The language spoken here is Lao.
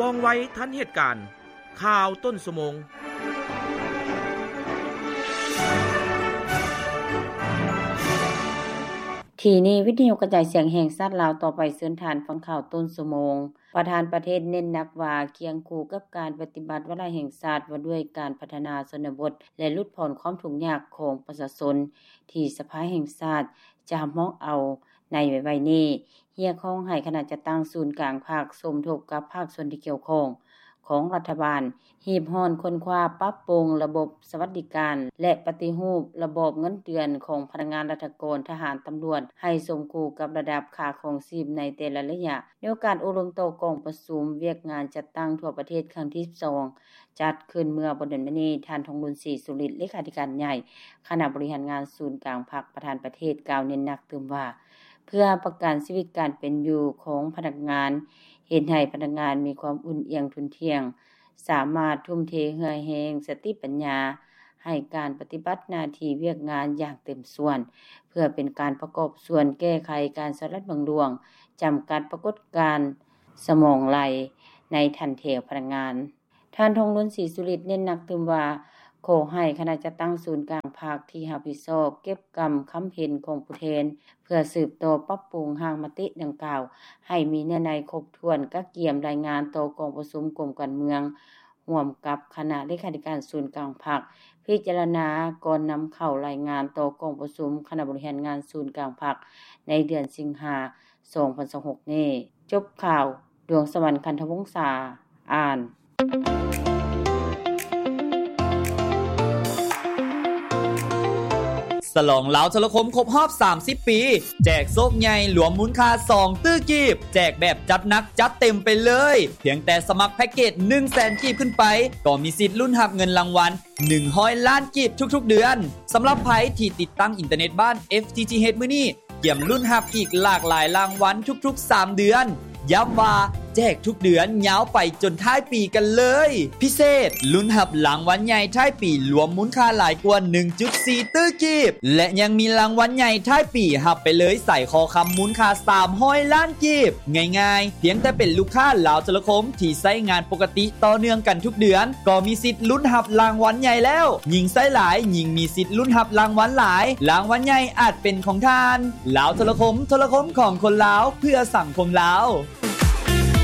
ວ່ອງໄວທັນເຫດການ. ຂ່າວຕົ້ນຊົ່ວໂມງ. ທີ່ນີ້ ວິທະຍຸກະຈາຍສຽງແຫ່ງຊາດລາວ, ຕໍ່ໄປເຊີນທ່ານຟັງຂ່າວຕົ້ນຊົ່ວໂມງ. ປະທານປະເທດເນັ້ນໜັກວ່າ ຄຽງຄູ່ກັບການປະຕິບັດວາລະແຫ່ງຊາດວ່າດ້ວຍການພັດທະນາຊົນນະບົດ ແລະ ຫຼຸດຜ່ອນຄວາມທຸກຍາກຂອງປະຊາຊົນ ທີ່ສະພາແຫ່ງຊາດຈະຮັບຮອງເອົາໃນໄວໆນີ້, ຮຽກຮ້ອງໃຫ້ຄະນະຈັດຕັ້ງສູນກາງພັກ ສົມທົບກັບພາກສ່ວນທີ່ກ່ຽວຂ້ອງຂອງລັດຖະບານ ຮີບຮ້ອນຄົ້ນຄວ້າປັບປຸງລະບົບສະຫວັດດີການ ແລະ ປະຕິຮູບລະບອບເງິນເດືອນຂອງພະນັກງານລັດຖະກອນ, ທະຫານ, ຕຳຫຼວດ ໃຫ້ສົມຄູ່ກັບລະດັບຄ່າຄອງຊີບໃນແຕ່ລະໄລຍະ. ໃນໂອກາດອົບຮົມຕໍ່ກອງປະຊຸມວຽກງານຈັດຕັ້ງທົ່ວປະເທດຄັ້ງທີສິບສອງ ຈັດຂຶ້ນເມື່ອບໍ່ດົນມານີ້, ທ່ານ ທອງລຸນ ສີສຸລິດ ເລຂາທິການໃຫຍ່ຄະນະບໍລິຫານງານສູນກາງພັກ ປະທານປະເທດ ກ່າວເນັ້ນໜັກຕື່ມວ່າ ເພື່ອປະກັນຊີວິດການເປັນຢູ່ຂອງພະນັກງານ, ເຮັດໃຫ້ພະນັກງານມີຄວາມອຸ່ນອຽງທຸ່ນທ່ຽງ, ສາມາດທຸ່ມເທເຫື່ອແຮງ, ສະຕິປັນຍາ ໃຫ້ການປະຕິບັດໜ້າທີ່ວຽກງານຢ່າງເຕັມສ່ວນ, ເພື່ອເປັນການປະກອບສ່ວນແກ້ໄຂການສະລັດບັງຫຼວງ, ຈຳກັດປາກົດການສະໝອງໄຫຼໃນຖັນແຖວພະນັກງານ. ທ່ານ ທອງລຸນ ສີສຸລິດ ເນັ້ນໜັກຕື່ມວ່າ ຂໍໃຫ້ຄະນະຈັດຕັ້ງສູນກາງພັກທີ່ຮັບຜິດຊອບເກັບກຳຄຳເຫັນຂອງຜູ້ແທນ ເພື່ອສືບຕໍ່ປັບປຸງຮ່າງມະຕິດັ່ງກ່າວ ໃຫ້ມີເນື້ອໃນຄົບຖ້ວນ, ກະກຽມລາຍງານຕໍ່ກອງປະຊຸມກົມການເມືອງ ຮ່ວມກັບຄະນະເລຂາທິການສູນກາງພັກ ພິຈາລະນາກ່ອນນຳເຂົ້າລາຍງານຕໍ່ກອງປະຊຸມຄະນະບໍລິຫານງານສູນກາງພັກ ໃນເດືອນສິງຫາ ສອງພັນຊາວຫົກນີ້. ຈົບຂ່າວ, ດວງສະຫວັນ ຄັນທະວົງສາ ອ່ານ. ສະຫຼອງລາວໂທລະຄົມຄົບຮອບສາມສິບປີ ແຈກໂຊກໃຫຍ່ລວມມູນຄ່າສອງຕື້ກີບ, ແຈກແບບຈັດໜັກຈັດເຕັມໄປເລີຍ. ພຽງແຕ່ສະໝັກແພັກເກດໜຶ່ງແສນກີບຂຶ້ນໄປ ກໍມີສິດລຸ້ນຮັບເງິນລາງວັນໜຶ່ງຮ້ອຍລ້ານກີບທຸກໆເດືອນ. ສຳລັບໃຜທີ່ຕິດຕັ້ງອິນເຕີເນັດບ້ານ ເອັຟ ທີ ທີ ເອັດ ມື້ນີ້ ກຽມລຸ້ນຮັບອີກຫຼາກຫຼາຍລາງວັນທຸກໆສາມເດືອນ. ຢ້ຳວ່າແຈກທຸກເດືອນຍາວໄປຈົນທ້າຍປີກັນເລີຍ. ພິເສດ, ລຸ້ນຮັບລາງວັນໃຫຍ່ທ້າຍປີລວມມູນຄ່າຫຼາຍກວ່າໜຶ່ງຈຸດສີ່ຕື້ກີບ ແລະ ຍັງມີລາງວັນໃຫຍ່ທ້າຍປີຮັບໄປເລີຍສາຍຄໍຄຳມູນຄ່າສາມຮ້ອຍລ້ານກີບ. ງ່າຍໆ, ພຽງແຕ່ເປັນລູກຄ້າລາວໂທລະຄົມທີ່ໃຊ້ງານປົກກະຕິຕໍ່ເນື່ອງກັນທຸກເດືອນ ກໍມີສິດລຸ້ນຮັບລາງວັນໃຫຍ່ແລ້ວ. ຍິ່ງໃຊ້ຫຼາຍ, ຍິ່ງມີສິດລຸ້ນຮັບລາງວັນຫຼາຍ. ລາງວັນໃຫຍ່ອາດເປັນຂອງທ່ານ. ລາວໂທລະຄົມ, ໂທລະຄົມຂອງຄົນລາວ, ເພື່ອສັງຄົມລາວ.